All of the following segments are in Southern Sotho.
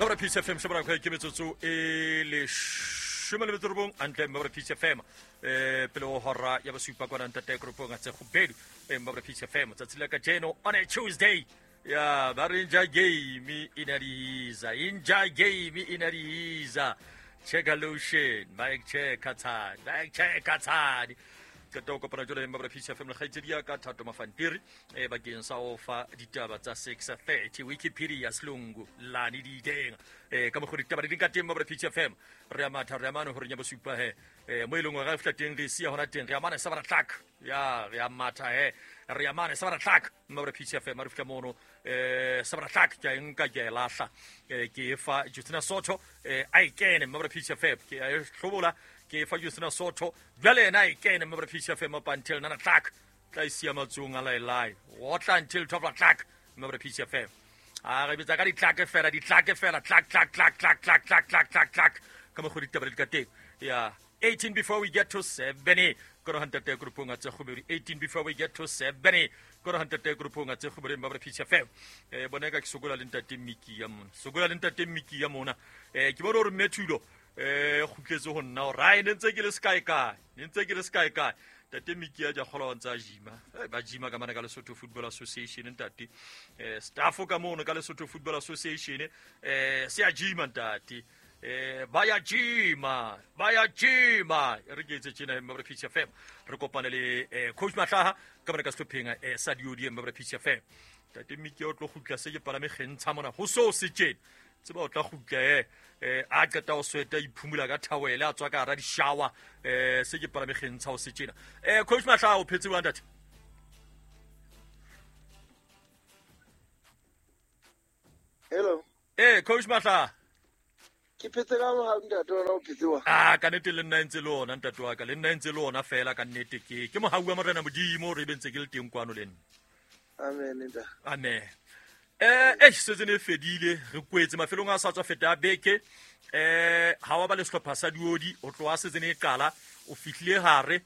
Mabra Peace FM shebana kwa ke metsotso e 19 antle Mabra Peace FM pele ho hora ya bosupa kwana ntate group nga tse gobedu Mabra Peace FM tsatsi la kajeno on a Tuesday ya ba re nja game inadiza inja game inadiza check lotion mike check tsani mike check tsani qeta ho kopana jwale Mabra Peace FM le kgaitsedi ya ka Thato Mafantiri bakeng sa ho fa ditaba tsa 6:30 Wikipedia Selungu lane di iteng ka mokgwa ditaba di leng ka teng Mabra Peace FM re a matha re a mane horeng ya bosupa he mo e leng hore re fihla teng re siya hona teng re a mane sa bara tlak ya re a matha he re a mane sa bara tlak Mabra Peace FM re fihla mono sa bara tlak ke a e nka ke a e lahla ke e fa Justina Soto a e kene Mabra Peace FM ke a e hlobola ke e fa Justina Soto jwale yena a e kene Mabra Peace FM up until nana tlak tla e siya matsong a laelae otla until 12 o'clock Mabra Peace FM a re bitsa ka ditlake fela ditlake fela tlak tlak tlak tlak tlak tlak tlak tlak tlak ka mokgwa ditaba di ka teng ya 18 before we get to 7 koro hantate grupong a tse gobedi 18 before we get to 7 koro hantate grupong a tse gobedi Mabra Peace FM bona ka ke sokola le ntate Miki ya mona sokola le ntate Miki ya mona ke bona hore mme Thulo kgutletse ho nna hore ai ne ntse ke le sekae kae ne ntse ke le sekae kae ntate Miki ya ja kgola wa ntse a jima ba jima ka mane ka Lesotho Football Association ntate staff ka mono ka Lesotho Football Association se a jima ntate ba ya jima ba ya jima re ke etse tjena Mabra Peace FM re kopane le coach Mahlaha ka mane ka sehlopheng sa Diodi Mabra Peace FM ntate Miki o tlo kgutla se ke palame kgentsha mona ho so se tjena tseba o tla kgutla a qeta ho sweta iphumula ka thawele a tswa ka hara di-shower se ke palame kgentsha ho se tjena coach Mahlaha o phetse jwang ntate? Hello. Coach Mahlaha ke phetse ka mohau ntate wena o phetse wa? Ka nnete le nna ntse le ona ntate wa ka le nna ntse le ona fela ka nnete ke mohau wa Morena Modimo re be ntse ke le teng kwano le nna. Amen ntate. Amen. Setse ne fedile re kwetse mafelong a sa tswa feta beke ha wa ba le sehlopha sa Diodi o tloha setse ne e qala o fihlile hare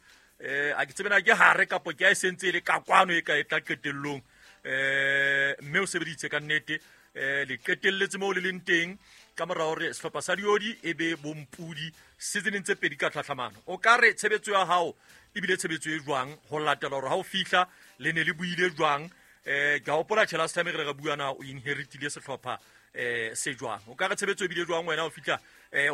a ke tsebe na ke hare kapo ke a e sentse e le ka kwano e ka e tla qetellong mme o sebeditse ka nnete le qetelletse moo le leng teng ka mora hore sehlopha sa Diodi e be bompudi seasoneng tse pedi ka tlhatlhamano o ka re tshebetso ya hao ebile tshebetso e jwang ho latela hore ha o fihla le ne le buile jwang ke a hopola tjhe last time re re bua na o inheritile sehlopha se jwang o ka re tshebetso ebile jwang wena o fihla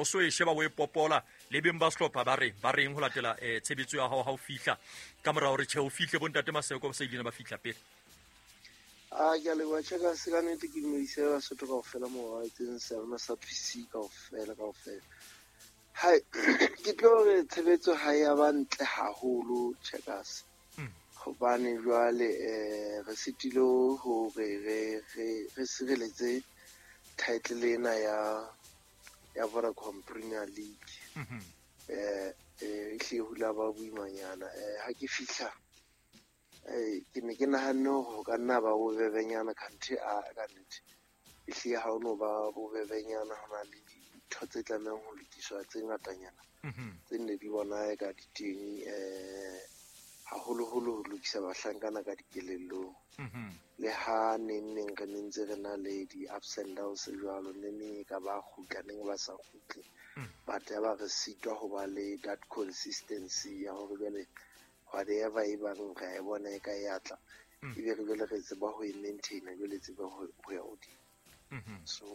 o so e sheba o e popola le beng ba sehlopha ba reng ho latela tshebetso ya hao ha o fihla ka mora hore tjhe o fihle bontate Maseko ba sa ile ba fihla pele? Ke a leboha tjhe se ka nnete ke dumedise Basotho kaofela moo ba etseng sealema sa PC kaofela kaofela. Hai ke tlo re tshebetso ha ya ba ntle haholo Checkers. Hobane jwale re sitile hore re sireletse title ena ya Vodacom Premier League. E hle hula ba boimanyana ha ke fihla ke ne ke nahanne hore ho ka nna ba bobebenyana country a ka nnete e hle ha ono ba bobebenyana ho na le dintho tse tlamehang ho lokiswa tse ngatanyana tse nne di bona e ka di teng haholoholo ho lokisa bahlankana ka dikelellong le ha neng neng re ne ntse re na le di-ups and downs jwalo ne neng e ka ba kgutla neng ba sa kgutle but ya ba re sitwa ho ba le that consistency ya hore jwale whatever e bang re a e bona e ka e atla ebe re jwale re tseba ho e maintaina jwale tseba ho ya hodimo. So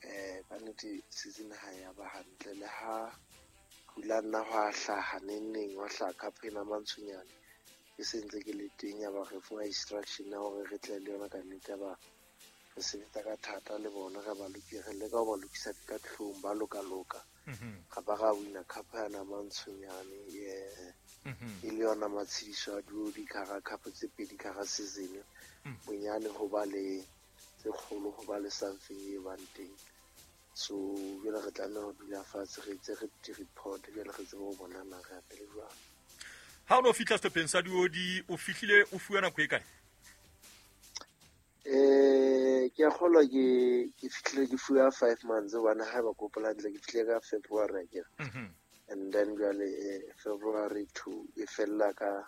ka nnete season ha ya ba hantle le ha hula nna hwa hlaha neng neng wa hlaha cup ena mantshonyane ke sentse ke le teng ya ba re fuwa instruction ya hore re tle le yona ka nnete ya ba re sebetsa ka thata le bona re ba re leka ho ba lokisa ka tlung ba loka loka ga ba ga wina cup yana mantshonyane e le yona matshediso a Diodi ka ga cup tse pedi ka ga season bonyane ho ba le tse kgolo ho ba le something e bang teng. So jwale re tlameha ho dula fatshe re etse re di-report jwale re tsebe ho bona na re apele jwang. Ha o no fihla sehlopheng sa Diodi o fihlile o fuwa nako e kae? Ke a kgolwa ke fihlile ke fuwa 5 months hobane ha ba kopola hantle ke fihlile ka February akere. And then jwale February to e fella ka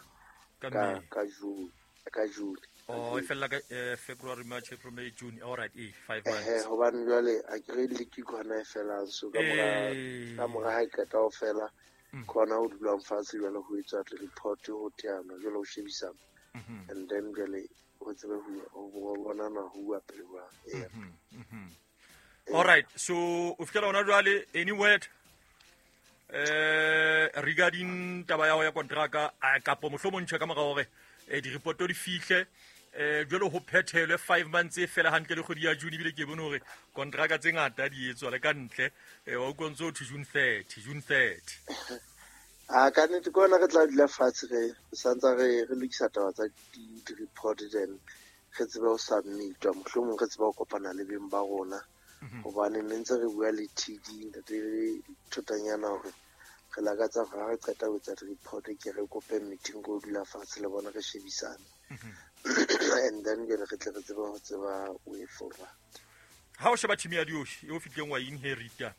June. Oh, e fella ka February, March, April, May, June. All right, 5 Ehe, months. Hobane jwale a ke re league ke hona e felang, so ka mora ka mora ha e qeta ho fela, ke hona ho dulang fatshe jwale ho etswa report, ho teanwa jwale ho shebisana, and then jwale ho tsebe ho bonana ho uwa pele jwang. Eya. All right, so o fihlela hona jwale, any word regarding taba ya ho ya kontraka, kapo mohlomong tjhe ka mora hore di-report di fihle, jwale ho phethelwe 5 months e fela hantle le kgwedi ya June, ebile ke bone hore kontraka tse ngata di etswa le ka ntle, wa utlwa ntse ho thwe June 30, June 30. A ka nnete ke hona re tla dula fatshe, re santsa re lokisa taba tsa di-report, then re tsebe ho submitwa, mohlomong re tsebe ho kopana le beng ba rona, hobane ne ntse re bua le TD ntate Thotanyana hore re lakatsa hore ha re qeta ho etsa di-report ke re kope meeting ko dula fatshe le bona re shebisane, and then jwale re tle re tsebe ho tseba way forward. Ha o sheba team ya Dioshi e o fihlileng wa inherita,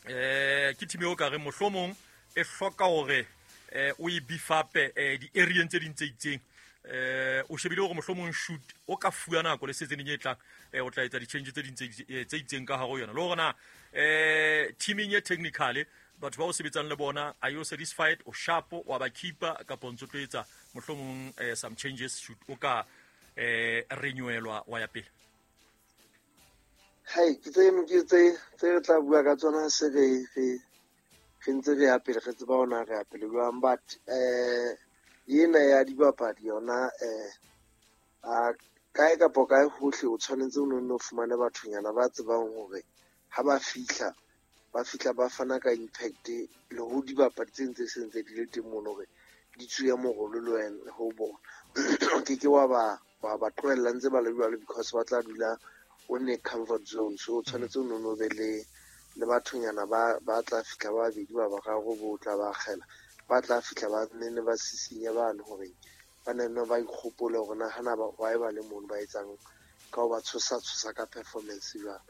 ke team eo ka re mohlomong e hloka hore o e beef up di-areeng tse ding tse itseng, o shebile hore mohlomong shoot o ka fuwa nako le seasoneng e tlang, o tla etsa di-change tse ding tse itseng ka hare ho yona, le hore na teaming e technically batho ba o sebetsang le bona, are you satisfied, o sharp, wa ba keeper, kapa o ntso tlo etsa mohlomong some changes shoot o ka renewelwa wa ya pele? Hai, ke tse ke tse tse re tla bua ka tsona se re re re ntse re ya pele, re tseba hona re ya pele jwang, but ena ya dibapadi yona, a kae kapa kae hohle o tshwanetse o nno fumane bathonyana ba tsebang hore ha ba fihla, ba fihla ba fana ka impact le ho dibapadi tse ntse se ntse di le teng mono, hore di tsuye morolo le wena ho bona. O ke ke wa ba tlohella ntse ba le jwalo, because ba tla dula o ne comfort zone. So o tshwanetse o nno be le bathonyana ba tla fihla ba babedi ba bararo bo tla ba akgela, ba tla fihla ba nne ba sisinya bane hore ba nne ba ikgopole hore na hana ba why ba le mono ba etsang ka ho ba tshosa tshosa ka performance jwalo.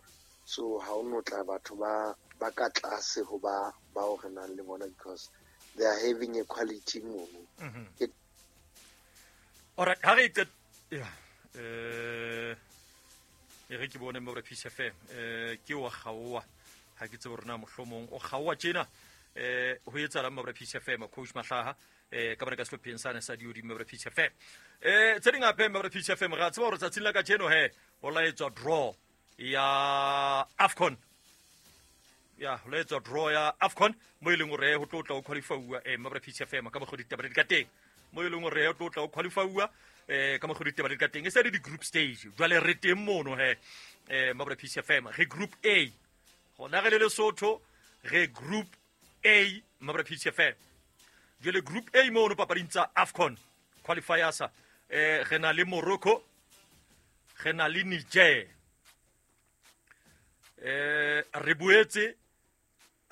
So ha o no tla batho ba ka tlase ho ba bao re nang le bona, because they are having a quality mono. All right, ha re ya e re ke bone mo re Peace FM, ke wa kgaoa, ha ke tsebe hore na mohlomong o kgaoa tjena, ho etsahalang mo re Peace FM, coach Mahlaha, ka bana ka sehlopheng sane sa Diodi mo re Peace FM. Tse ding hape mo re Peace FM, re a tseba hore tsatsing la kajeno he ho laetswa draw ya AFCON. Ya, ho laetswa draw ya AFCON mo e leng hore ho tlo tla ho qualify-uwa mo re Peace FM ka mokgwa ditaba di ka teng. Mo e leng hore ho tlo tla ho qualify-uwa ka mokgwa ditaba di ka teng. E se le di-group stage. Jwale re teng mono he mo re Peace FM. Re group A. Hona re le Lesotho, re group A mo re Peace FM. Jwale group A mono papading tsa AFCON qualifiers, re na le Morocco, re na le Niger. Re boetse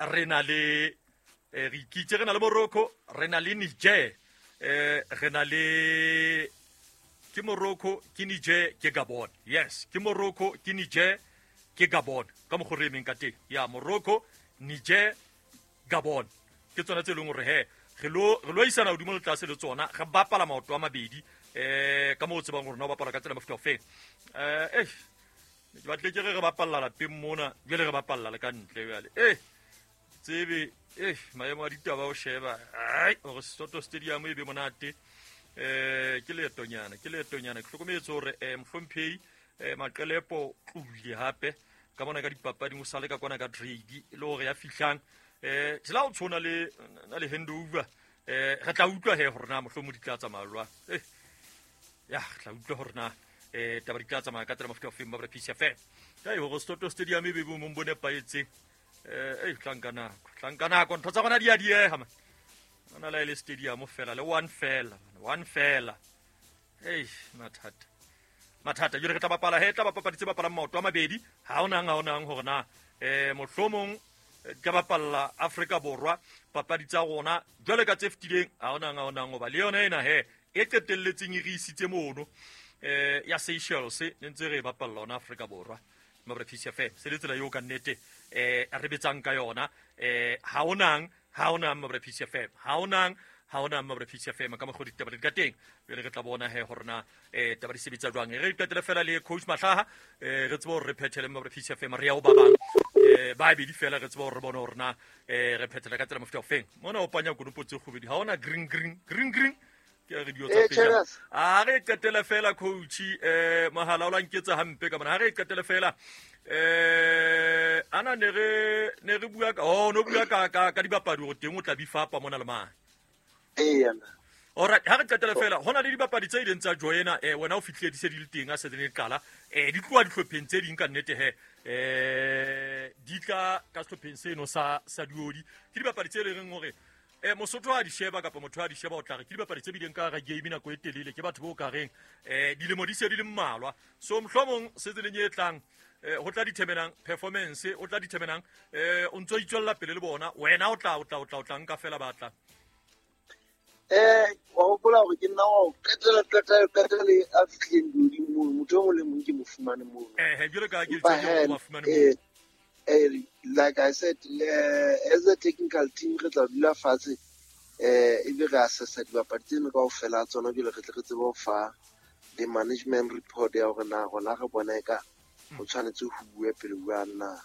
re na le re ikitse re na le Morocco, re na le Niger, re na le ke Morocco, ke Niger, ke Gabon. Yes, ke Morocco, ke Niger, ke Gabon. Ka mokgwa re emeng ka teng. Ya Morocco, Niger, Gabon. Ke tsona tse leng hore he re lo isana hodimo le tlase le tsona, re bapala maoto a mabedi, ka moo o tsebang hore na o bapala ka tsela mofuta ofeng. Ke batle ke re re bapalla lapeng mona, jwale re bapalla le ka ntle jwale. Tsebe, maemo a ditaba o sheba, ai, hore Soto Stadium e be monate. Ke leetonyana, ke leetonyana. Ke hlokometse hore mohlomphehi Maqelepo tlohile hape ka mona ka dipapading, o sale ka kwana ka trade le hore ya fihlang, tsela o tshwana le na le handover, re tla utlwa he hore na mohlomong di tla tsamaya jwang. Ya, re tla utlwa hore na taba di tla tsamaya ka tsela mofuta ofeng ba Peace FM. Kai hore Soto Stadium e be bo mong bo nepahetseng. Tla nka nako, tla nka nako, ntho tsa rona di a dieha man. Ona la ile stadium fela le one fela, one fela. Mathata. Mathata, jwale re tla bapala he, tla bapala tse bapalang maoto a mabedi. Ha onang hore na mohlomong ka bapalla Afrika Borwa papadi tsa rona jwale ka tse fetileng, ha onang hoba le yona ena he e qetelletseng e re isitse mono ya Seychelles ne ntse re bapalla ona Afrika Borwa. Mabra Peace FM se le tsela eo ka nnete re betsang ka yona. Ha onang Mabra Peace FM, ha Ha hona mma Peace FM ka mokgwa ditaba di ka teng. Jwale re tla bona he hore na taba di sebetsa jwang. Re qetele fela le coach Mahlaha, re tsebe hore re phethele mma Peace FM, re ya ho ba bang ba bedi fela, re tsebe hore re bone hore na re phethela ka tsela mofuta ofeng. Mona o panya konopo tse kgobedi, ha hona green green green green ke re dio tsa pejana. A re qetele fela coach, mohala o la nketsa hampe ka mona. Ha re qetele fela ana ne re bua ka no bua ka dibapadi hore teng o tla bifapa mona le mane. Eya. Alright, ha re qetele fela hona le dibapadi tse ileng tsa joina, wena o fihlile di se di le teng a se di qala, di tloha dihlopheng tse ding ka nnete he, di tla ka sehlopheng seno sa Diodi. Ke dibapadi tse leng hore Mosotho a di sheba kapa motho a di sheba o tla re ke dibapadi tse bileng ka hara game nako e telele, ke batho bo ka reng dilemo di se di le mmalwa. So mohlomong season e tlang ho tla determinang performance, o tla determinang o ntso itswella pele le bona, wena o tla nka fela batla. Wa hopola hore ke nna wa qetela a fihlileng Diodi mono, motho e mong le mong ke mo fumane mono. Jwalo ka ke tsebe mo fumane mono. Like I said, as a technical team re tla dula fatshe, ebe re assessa dibapadi tseno kaofela tsona, jwale re tle re tsebe ho fa the management report ya hore na rona re bona eka ho tshwanetse ho bue pele jwang, na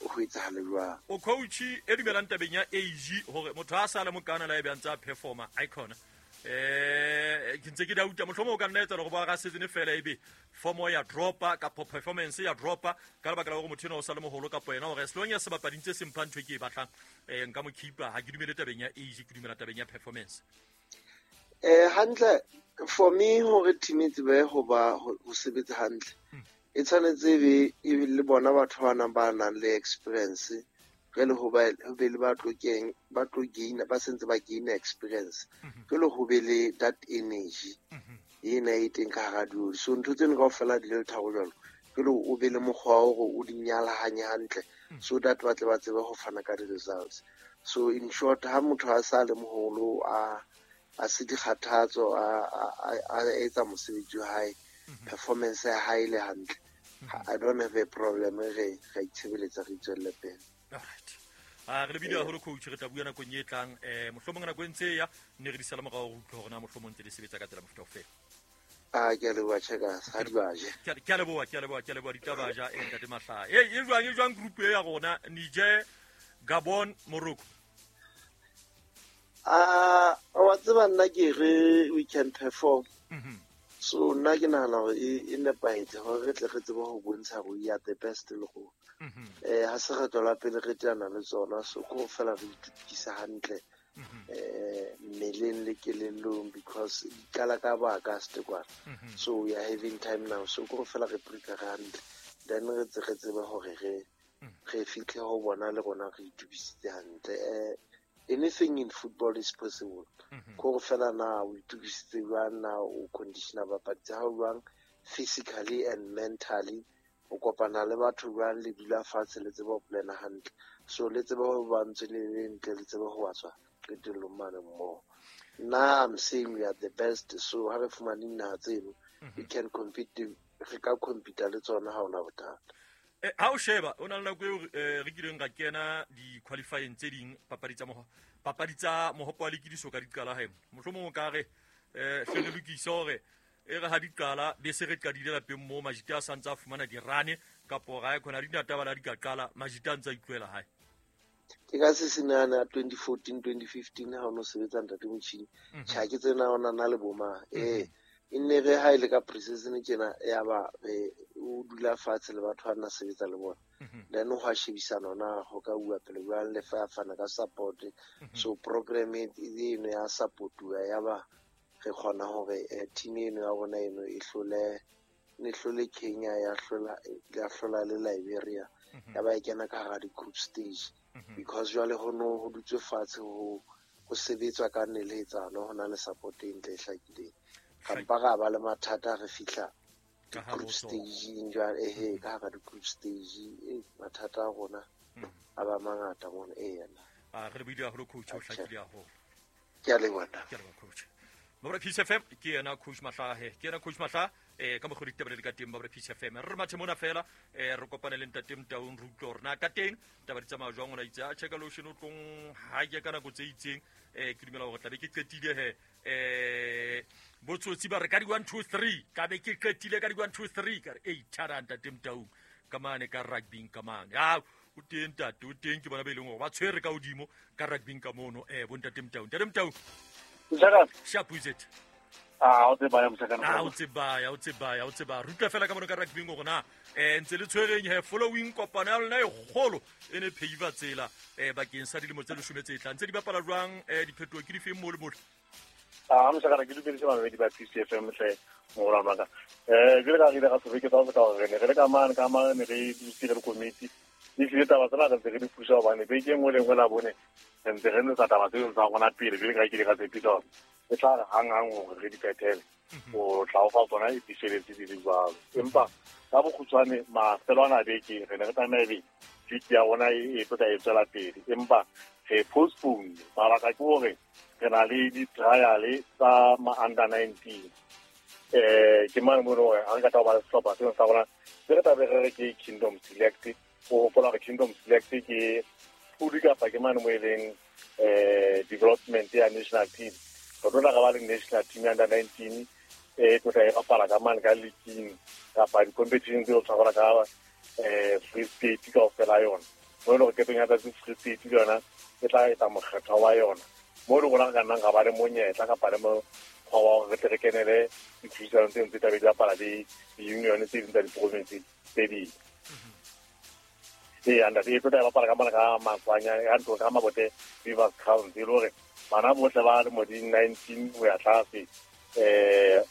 ho etsahale jwang. O coach e dumelang tabeng ya age hore motho a sa le mokana la ebe a ntse a performa icon. Ke ntse ke dauta mohlomong o ka nna etsa hore ba ra season fela ebe form ya dropa kapa performance ya dropa ka lebaka la hore motho ena o sa le moholo kapa yena hore as long as sebapadi ntse se mpha ntho e ke e batlang, nka mo keepa. Ha ke dumele tabeng ya age, ke dumela tabeng ya performance. Hantle for me hore team e tsebe ho ba ho sebetsa hantle, e tshwanetse e be le bona batho ba nang ba nang le experience, jwale ho be le ba tlo gain, ba sentse ba gain experience, jwale ho be le that energy ena e teng ka hara Diodi. So ntho tseno kaofela di le tharo jwalo, jwale o be le mokgwa wa hore o di nyalahanye hantle, so that ba tle ba tsebe ho fana ka di-results. So in short, ha motho a sa le moholo, a se dikgathatso, a etsa mosebetsi wa hae, performance ya hae le hantle, I don't have a problem. Re itshebeletsa, re itswelle pele. Alright. Re lebile haholo coach, re tla bua nakong e tlang, mohlomong nako e ntse ya ne re di sala morao, re utlwe hore na mohlomong ntse di sebetsa ka tsela mofuta ofe. Ke a leboha Checkers, ha di baje. Ke a leboha ditaba ja ntate Mahlaha. E jwang group e ya rona, Niger, Gabon, Morocco? Wa tseba nna ke re we can perform. So nna ke nahana hore e nepahetse hore re tle re tsebe ho bontsha hore we are the best le rona. Ha se kgetlo la pele re teana le tsona, so ko fela re itukisa hantle mmeleng le kelellong, because di qala ka ba August kwana. So we are having time now, so ko fela re prepare hantle, then re tsebe hore re fihle ho bona le rona re itukisitse hantle. Anything in football is possible. Ko fela na o itukisitse jwang, na o conditioner bapadi tsa hao jwang physically and mentally, o kopana le batho jwang, le dula fatshe le tsebe ho plana hantle, so le tsebe ho ba ntse le le ntle, le tsebe ho tswa qetellong mane mmoho. Nna I'm saying we are the best, so ha re fumane dinaha tseno, we can compete, re ka compete le tsona, ha hona bothata. Ha o sheba o na le nako eo re kileng ra kena di-qualifying tse ding, papadi tsa mohopo wa lekidiso ka di qala hae, mohlomong o ka re hle re lokise hore e re ha di qala be se re qadile lapeng moo, majita a santse a fumana dirane kapo ra e khona dinataba la di ka qala, majita a ntse a itlohela hae. Ke ka se senana 2014 2015 ha o no sebetsa ntate motjhini, tjha ke tsena ona na le boma e nne re ha ile ka pre-season tjena, ya ba o dula fatshe le batho ba nna sebetsa le bona, then ho a shebisana na ho ka bua pele jwang, le fa fana ka support. So program eno ya supportuwa, ya ba re kgona hore team eno ya rona eno e hlole Kenya, ya hlola le Liberia, ya ba e kena ka hara di-group stage, because jwale ho no ho dutswe fatshe ho sebetswa ka neletsano, ho na le support e ntle e hlakileng. Kampa ra ba le mathata re fihla group stage jwale, ka hara di-group stage mathata a rona a ba mangata mona. Re lebile haholo coach, o hlakile haholo. Ke a leboha. Ke a leboha coach. Mabra Peace FM, ke yena coach Mahlaha, Ka mokgwa ditaba le ka teng ba re Peace FM re mathe mona fela re kopane le ntate Motaung re utlwe hore na ka teng taba di tsamaya jwang. Ona itse a checka lotion o tlong ha ke ka nako tse itseng ke dumela hore tlabe ke qetile he botsotsi ba re ka di 1 2 3 ka be ke qetile ka di 1 2 3 ka re ei thara ntate Motaung ka mane ka rugby ka mane a o teng ntate o teng ke bona be leng hore ba tshwere ka hodimo ka rugby ka mono bo ntate Motaung. Ntate Motaung sharp is it? Ah, o tseba ya moshakana. Ah, o tseba. Rutla fela ka mona ka rugby go rona. Ntse le tshwereng he following kopano ya lona e kgolo e ne pheiva tsela bakeng sa dilemo tse 10 tse tlang. Ntse di bapala jwang diphetoho ke difeng mo le mo? Ah, moshakana ke dumedise babedi ba PCFM hle morwa wa ka. Ke le ka re ga sebeke tsa go ka re ne re le ka mane ka mane re dutse le committee. Di file taba tsena re ntse re di pusa hobane beke nngwe le nngwe la bone re ntse re ntse taba tseo tsa rona pele pele ka ke di ga tsepisa. E tla re hang-hang hore re di phethele o tla o fa tsona e diseletse di le jwalo. Empa ka bokgutshwane mafelo ana a beke re ne re tlameha ebe league ya rona e tlo tla e tswela pele, empa re postpone. Mabaka ke hore re na le di-trial tsa ma-under 19. Ke mane mo hore ha re ka tla ba le sehlopha seo sa rona se re tlabe re re ke Kingdom Select. O hopola hore Kingdom Select ke pudi kapa ke mane mo e leng development ya national team. Re tlo tla ba le national team ya under 19 e tlo tla e bapala ka mane ka league kapa di-competition tseo tshwarwa ka Free State kaofela yona. Mo e leng hore ketong ya tsatsi Free State le yona e tla etsa mokgetho wa yona. Mo le rona re ka nnang ra ba le monyetla kapa le mokgwa wa hore re tle re kenele ditlhodisano tseno tse tlabe di bapala le di-union tse ding tsa di-province tse ding. Ee, ntate e tlo tla e bapala ka mane ka Matswanya ka ntlong ka Mabote Beavers Crowns, e le hore bana bohle ba lemo di 19 ho ya tlase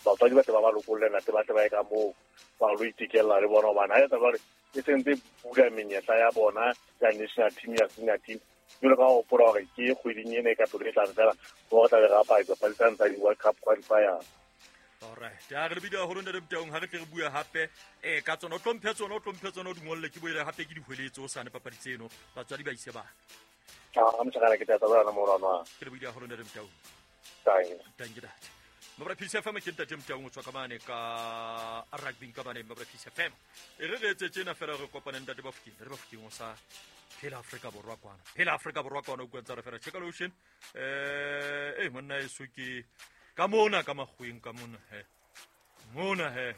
batswadi ba tle ba ba lokolle ntate ba tle ba ye ka moo ba lo itekella le bona hobane ha etsa jwale e sentse bula menyetla ya bona ya national team ya senior team. Jwalo ka ho hopola hore ke kgweding ena e ka pelo e tlang fela mo re tla be re apara dipapadi tsane tsa di-World Cup qualifiers. Alright, ya re bidea hore ntate Motaung ha re tle re bua hape ka tsona o tlo mphe tsona o di ngolle ke boele hape ke di hweletse o sane papadi tseno batswadi ba ise bana. Ah, moshakana ke tla tsaba morwa. Ke le bidea hore ntate Motaung. Thank you dad. Mabra Peace FM ke ntate Motaung o tswa ka mane ka rugby ka mane Mabra Peace FM. E re re etse tjena fela re kopane ntate Bafokeng, re Bafokeng o sa phela Afrika Borwa kwana. Phela Afrika Borwa kwana o kwentsa re fela check lotion. Monna eso ke ka mona ka makgweng ka mona he. Mona he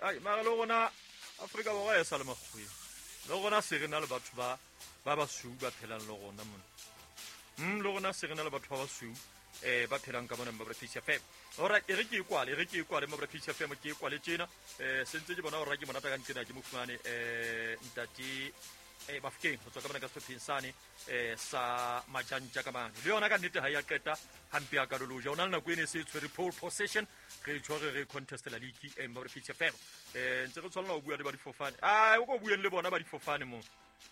ai mara le rona Afrika Borwa e sa le makgweng. Le rona se re na le batho ba basweu ba phelang le rona mona. Le rona se re na le batho ba basweu ba phelang ka mona Mabra Peace FM. Alright, e re ke kwale Mabra Peace FM ke kwale tjena. Sentse ke bona hore ke monata ka ntsena ke mo fumane ntate Bafokeng ho tswa ka mona ka sehlopheng sane sa Majantja ka mane. Le yona ka nnete ha ya qeta hampe ya karoloja. O na le nako ene se tshwere pole possession re tshwere re contestela league Mabra Peace FM. Ntse re tshwanela ho bua le ba difofane. Ai o ko bueng le bona ba difofane mo.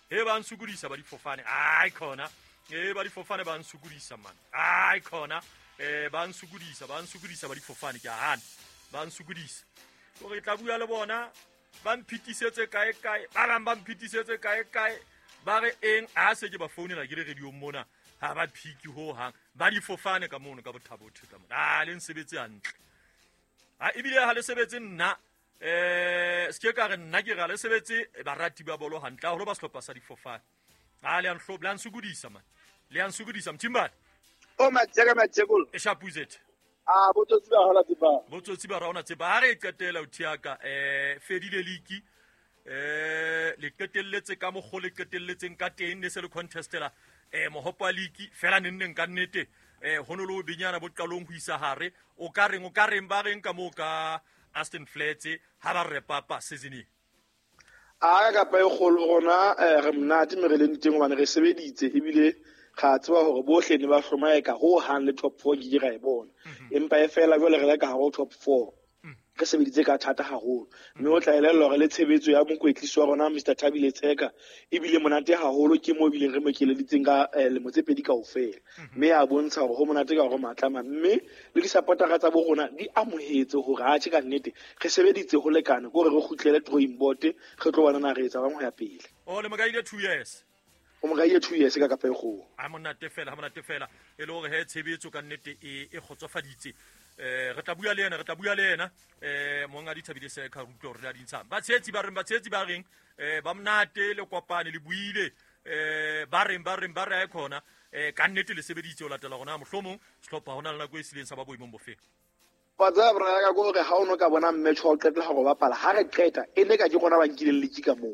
He ba nsukodisa ba difofane. Ai khona. Ba difofane ba nsukodisa man. Ai khona. Ba nsukodisa ba difofane ke a hana. Ba nsukodisa. Hore tla bua le bona ba mphitisetse kae kae ba bang ba mphitisetse kae kae ba re eng a se ke ba founela ke le radio mona ha ba phiki ho hang ba difofane ka mono ka bothabo ka mona a le nsebetse hantle ha ebile ha le sebetse nna se ke ka re nna ke ra le sebetse barati ba bolo hantle haholo ba sehlopha sa difofane a le anhlo la nsukodisa man le ansukodisa mthimbane o matjeka matjekolo e shapuzet. Ah, botsotsi ba hola tseba. Botsotsi ba rona tseba ha re qetela o thiaka fedile league le qetelletse ka mokgo le qetelletseng ka teng ne se le contestela mohopo wa league fela nenneng ka nnete ho no le benyana bo qalong ho isa hare o ka reng ba reng ka mo ka Aston Flats ha ba re papa season e. A ka pa e kgolo rona re monate me re leng teng hobane re sebeditse ebile ga tseba hore bohle ne ba hlomaeka ho hang le top 4 ke ra e bona. Empa e fela jwale re le ka hare top 4. Re sebeditse ka thata haholo. Mme o tla elellwa hore le tshebetso ya mokwetlisi wa rona Mr Thabile Tsheka ebile monate haholo ke mo ebile re mo keleditseng ka lemo tse pedi kaofela. Mme a bontsha hore ho monate ka hore matlama mme le di-supportera tsa bo rona di amohetse hore atjhe ka nnete re sebeditse ho lekana ke hore re kgutlele drawing board re tlo bona na re etsa bang ho ya pele. O le mokaile 2 years. O mokaile 2 years ka kapa e kgolo. Ha monate fela e le hore he tshebetso ka nnete e kgotsofaditse. Re tla bua le yena, monga di thabile se ka rutlo re la dintshang. Ba tshetsi ba reng ba monate le kopane le buile ba reng ba re khona ka nnete le sebeditse o latela gona mohlomong sehlopha hona le nako e sileng sa ba boemong bofe. Wa tseba bra ka gore ha o no ka bona match wa qetela go bapala ha re qeta e ne ka ke gona ba nkileng league ka moo.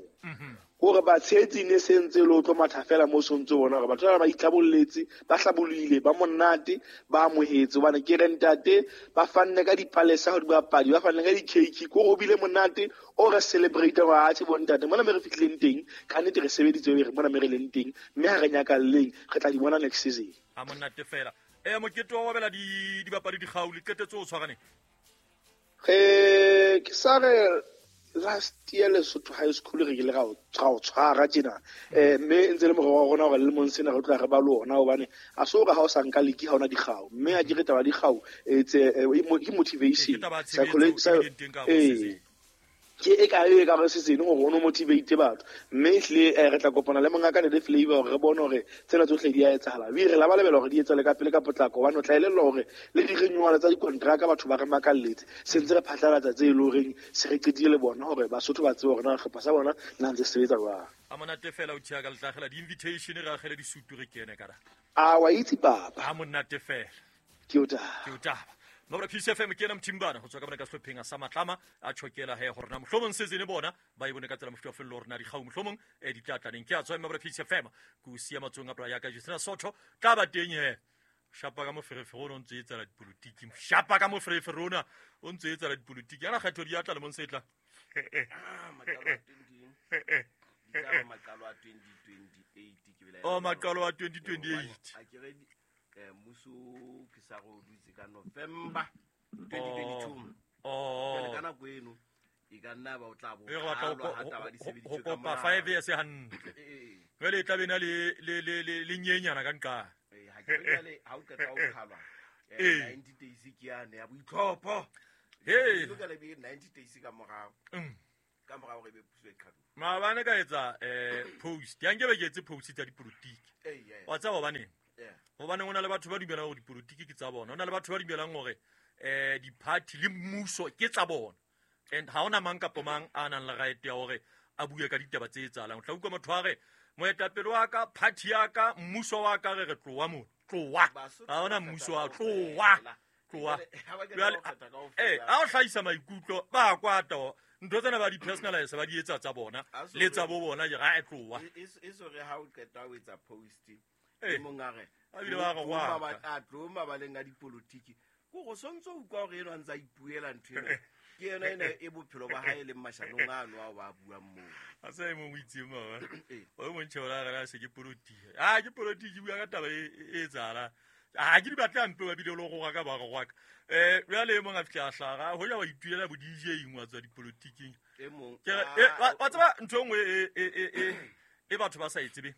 Gore ba tshetsi ne sentse le o tlo matha fela mo sontse bona gore batho ba itlhabolletse ba hlabolile ba monate ba amohetse hobane ke re ntate ba fanne ka dipalesa ho dibapadi ba fanne ka di-cake ko go bile monate o re celebrate gore a tse bontate mona me re fihlileng teng ka nnete re sebeditse re mona me re leng teng mme ha re nyakalleng re tla di bona next season. A monate fela. Mokete wa wabela dibapadi dikgau le qetetse o tshwarane? Re ke sa re last year Lesotho High School re ile ra o tshwara tjena mme ntse le morero wa rona hore le lemong sena re tla re ba le ona hobane a so re ha o sa nka league ha ona dikgau mme a ke re taba dikgau ke motivation ke e ka e ka re se seng gore o no motivate batho mme ehlile re tla kopana le mongaka le flavor gore re bone hore tsena tsohle di a etsahala wi re la ba lebela hore di etsale ka pele ka potlako hobane o tla elellwa hore le di-renewal tsa dikontraka batho ba re makalletse se ntse re phatlalatsa tse e le horeng se re qetile le bona hore Basotho ba tsebe hore na hlopha sa bona na ntse sebetsa jwang. A monate fela o tjha ka letlagela di-invitation re agele disutu re kene ka a wa itse papa. A monate fela ke o taba. Mabra Peace FM ke ena Mthimbana go tswa ka bona ka sehlopheng sa Matlama a tshokela he gore na mohlomong season bona ba e bone ka tsela mofuta wa fello rena dikgau mohlomong di tla tlaneng ke a tswa Mabra Peace FM ku sia matsong a bra ya ka Justina Sotho tla ba teng he shapa ka moferefere o ntse e tsela dipolotiki shapa ka moferefere ona o ntse e tsela dipolotiki ana kgetho di atla le mong setla maqalo a 2028 ke bela o maqalo a 2028 a ke re muso ke sa go dutse ka November 2022. Oh, ka nako eno e ka nna ba o tla bo go kopa 5 years hantle. Jwale e tla bena le le le le nyenyana ka nqa. Ha ke re ha o qeta ho khalwa 90 days ke yane ya boitlhopho. Hey, lokela be 90 days ka morao. Ka morao re be puso e qhalo. Maabane ka etsa post. Ya nke be ke etse post tsa dipolotiki. Wa tseba hobaneng? Hobane hona le batho ba dumelang hore dipolotiki ke tsa bona. Hona le batho ba dumelang hore di-party le mmuso ke tsa bona. And ha hona mang kapa mang a nang le right ya hore a bue ka ditaba tse etsahalang. O tla utlwa motho a re moetapele wa ka, party ya ka, mmuso wa ka re re tloha mo. Tloha. Ha hona mmuso wa tloha. Tloha. Jwale ha o hlahisa maikutlo ba kwata ntho tsena ba di-personalize ba di etsa tsa bona le tsa bo bona ke ra e tloha. E so re ha o qeta ho etsa post e mongare a bile ba re wa a tlo mabaleng a dipolotiki go go sontso utlwa gore eno a ntse a ipuela ntho ena ke yena ena e bophelo ba hae le mashanong a no a ba buang moo a sa e mong o itseng mama o montšhe ora re se ke polotiki a ke polotiki bua ka taba e etsahala a ke di batla mpe ba bile le go ga ka ba go ka jwale e mong a fihla a hlaga ho ja wa ituela bo DJ eng wa tswa dipolotiking e mong wa tseba ntho e nngwe e batho ba sa e tsebe.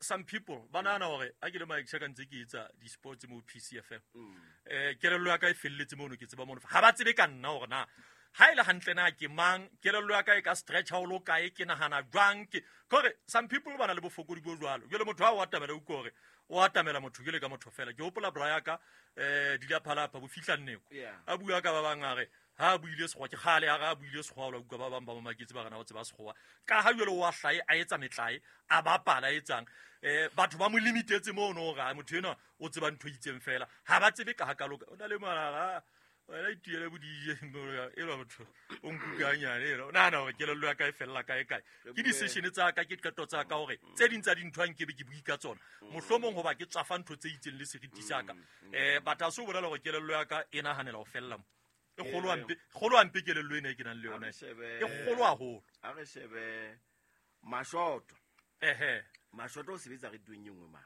Some people ba nahana hore a ke le Mike Chaka ntse ke etsa di-sports mo PCFM. Kelello ya ka e felletse mono ke tseba mono. Ha ba tsebe ka nna hore na ha ile hantle na ke mang, kelello ya ka e ka stretch ha o lo kae, ke nahana jwang ke kore some people ba na le bofokodi bo jwalo. Jwale motho ha o atamela o kore o atamela motho jwale ka motho fela. Ke hopola bra ya ka di la phalapha bo fihla nneko. A bua ka ba bang a re ha buile sekgowa ke kgale ha ga buile sekgowa la utlwa ba bang ba mamaketse ba rena o tseba sekgowa ka ha jwale wa hlae a etsa metlae a bapala etsang batho ba mo limitetse mono hore motho ena o tseba ntho itseng fela ha ba tsebe ka ha ka loka o na le mara wena ituele bo DJ e lo motho o nkukanyane eno nahana hore kelello ya ka e fella kae kae ke decision tsa ka ke qeto tsa ka hore tse ding tsa dintho nke be ke bui ka tsona mohlomong hoba ke tswafa ntho tse itseng le seriti sa ka but a se o bolela hore kelello ya ka e nahanela ho fella mo e kgolo hampe kelello ena e ke nang le yona e kgolo haholo. A re shebe Mashoto. Ehe Mashoto o sebetsa re tueng e nngwe ma.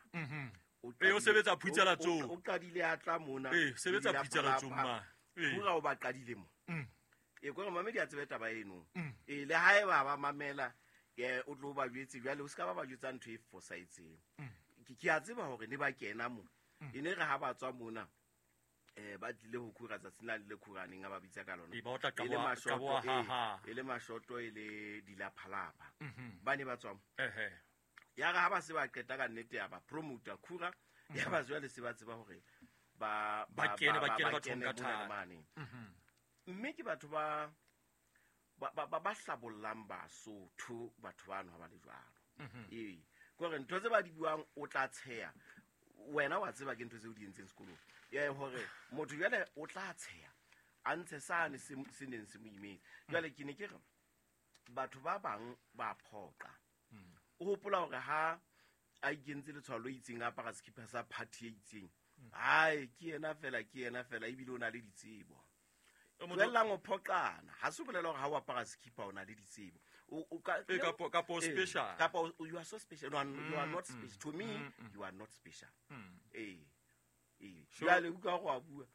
O sebetsa phutsela tsong. O qadile a tla mona. Sebetsa phutsela tsong ma. Pura o ba qadile mo. E kore mamedi a tsebe taba eno. E le hae ba mamela o tlo ba jwetse jwale o ska ba ba jwetsa ntho e fosahetseng. Ke a tseba hore ne ba kena mo. E ne re ha ba tswa mona ba tlile ho khura tsatsi la le khuraneng a ba bitsa ka lona. E ba e le Mashoto e le dilaphalapha. Ba ne ba tswa mo. Ya re ha ba se ba qeta ka nnete ya ba promoter khura ya ba jwale se ba tseba hore ba Ba kene, ba kene bathong kene ka mona le thata. mane. Mme ke batho ba ba hlabollang Basotho, batho bano ha ba le jwalo. Ee, kore ntho tse ba di buang o tla tsheya wena, wa tseba ke ntho tseo di entseng sekolong. Ee, hore motho jwale o tla tsheya a ntshe sane se neng se mo imetse. Jwale ke ne ke re batho ba bang ba phoqa, o hopola hore ha a ikentse letshwao lo itseng, a apara sekipa sa party e itseng, hai, ke yena fela, ke yena fela, ebile o na le ditsebo. Tlohellang ho phoqana. Ha se bolela hore ha o apara sekipa o na le ditsebo. Eh, kapo o Eh, special. Kapa you are so special. No, you are not special. To me, you are not special. Ee, ee. Jwale utlwa gore wa bua,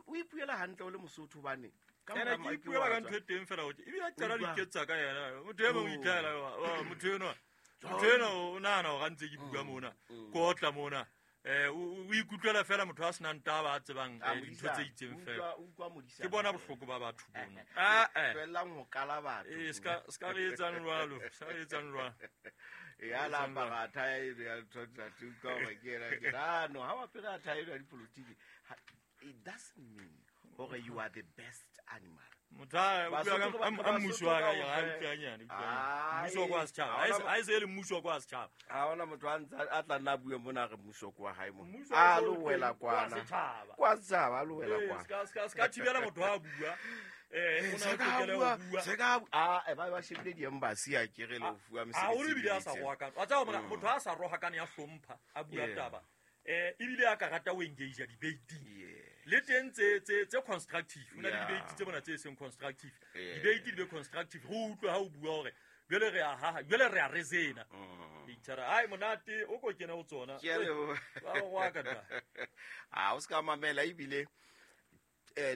o ipuela hantle o le Mosotho, hobane ka Ene mora ke ke ipuela wa ka tswa. ntho e teng fela hore ebile a qala Utlwa. diketsa ka yena motho e mong o Oh. itlhaela motho enwa, motho enwa o nahana hore a ntse ke bua mona, ke otla mona, o ikutlwela fela motho a senang taba, a tsebang Ah, dintho tse modisana. itseng fela. Utlwa modisana. Ke bona bohloko ba batho bono. Ah, eh. Tlohellang ho kala batho. Ee, ska re etsang jwalo, ska re etsang jwalo. Ya la apara thae eno ya ntho, utlwa hore ke ena, ke ah no, ha o apere thae eno ya dipolotiki, it doesn't mean hore you are the best animal. Motho a utlwa Basotho ka mmuso wa ka kaofela. a utlwanyane. Ai, Mmuso wa kwa setjhaba. ha Ha e se e le mmuso wa kwa setjhaba. Ha hona motho a ntse a tla nna a bue mona a re mmuso ke wa hae mo. Mmuso wa A lo teng, wela kwa kwana. setjhaba. Kwa setjhaba, a lo wela Ee, kwana. ska thibela motho ha a bua. O na Se le ka tokelo ya bua, ho bua. se ka ah, ba ba shebile di-embassy, a kere le ho fuwa Haholo mesebetsi ebile e a sa itseng. rohakane. Wa tseba hore motho ha a sa rohakane, ya hlompha, a bua taba. Ebile a ka rata ho engage debating. Le teng tse constructive. Ho na le debate tse bona tse seng constructive. Debate di be constructive. Re utlwe ha o bua hore jwale re a haha, jwale re a rezena. Itjhara, ai monate o ko kena ho tsona. Ke a leboha. Ba o rohaka ta. A o se ka mamela. Ebile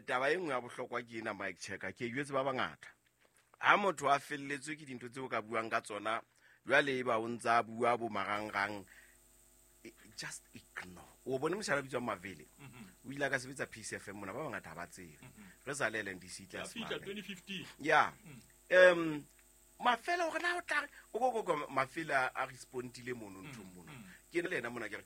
taba e nngwe ya bohlokwa ke ena, Mike Checker, ke e jwetse ba bangata, ha motho a felletswe ke dintho tseo o ka buang ka tsona, jwale e ba o ntse a bua bo marangrang, just ignore. O bone moshala bitswang Mavele, o ile a ka sebetsa Peace FM mona, ba bangata ha ba tsebe, re sa le LNDC Ya tlase fihla mane. 2015. Ya, mafela gore na o tla re o ko mafela a respondile mono nthong mono, ke le ena mona ke re